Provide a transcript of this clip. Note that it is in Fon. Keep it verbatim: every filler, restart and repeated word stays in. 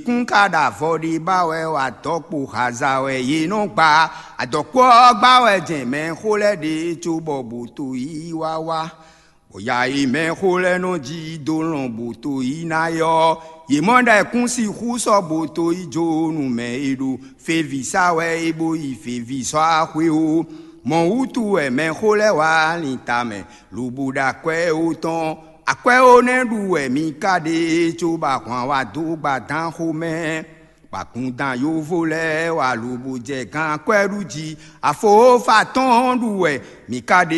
Kún ka ɖo avɔ ɖé ba wɛ, wɔ adɔkpo haza wɛ yě nɔ gba. Adɔkpo ɔ́ gba wɛ jɛn mɛxó lɛ́ɛ ɖe cóbɔ bǒto yí wá wá. Bɔ ya e mɛxó lɛ́ɛ nɔ jí dó lɔn bǒto yí ná é ɔ́, yě mɔ ɖɔ è kún sixú sɔ́ bǒto yí jó nú mɛ e ɖo feví sa wɛ é bó yi feví sɔ́ axwé ó. Mɔ̌ wútu wɛ mɛxó lɛ́ɛ wá lin tamɛ, lobo ɖo akwɛ́ ó tɔn. Akwɛ́ ó nɛ́ ɖu wɛ mi ka ɖe, cóbɔ ahwan wá dó gbadán xomɛ. Gbakúndán yovo lɛ́ɛ wá lobo jɛ gán akwɛ́ ɖu jí. Afo fa tɔn ɖu wɛ mi ka ɖe,